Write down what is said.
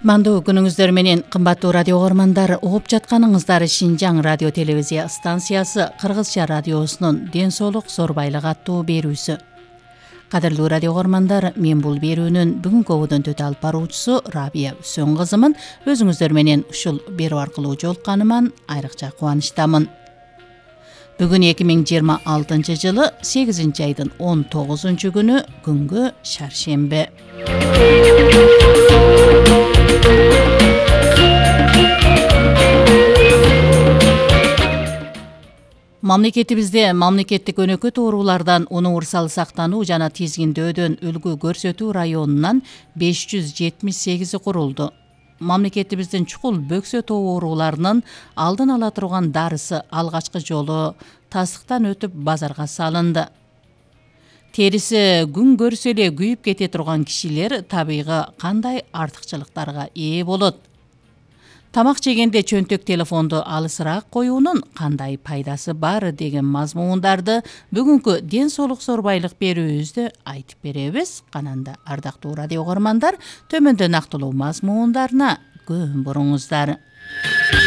Мандуу күнүңүздөр менен кымбаттуу радио угармандар, угуп жатканыңыздар Шинжаң радио телевизия станциясы Кыргызча радиосунун Ден соолук зор байлык аттуу берүүсү. Кадырлуу радио угармандар, мен бул берүүнүн бүгүнкү ободон төтө алып баруучусу Рабия Үсөн кызымын. Өзүңүздөр менен ушул берүү аркылуу жолукканыман айрыкча кубанычтамын. Бүгүн 2026 жылы 8 айдын 19 күнү, күнгө шаршембе. Мамлекетибизде мамлекеттик өнөкөт оорулардан унуурсал сактануу жана тизгиндөөдөн үлгү көрсөтүү районунан 578 курулду. Мамлекетибиздин чукул бөксө тобу ооруларынын алдын ала турган дарысы алгачкы жолу тастыктан өтүп базарга салынды. Териси күн көрсө эле күйүп кете турган кишилер табигы кандай артыкчылыктарга ээ болот? Тамак жегенде чөнтөк телефонду алысыраак коюунун кандай пайдасы бар деген мазмундарды бүгүнкү Ден соолук зор байлык берүүбүздө айтып беребиз. Кананда ардактуу радио угармандар, төмөндө нактылуу мазмундарына көң буруңуздар.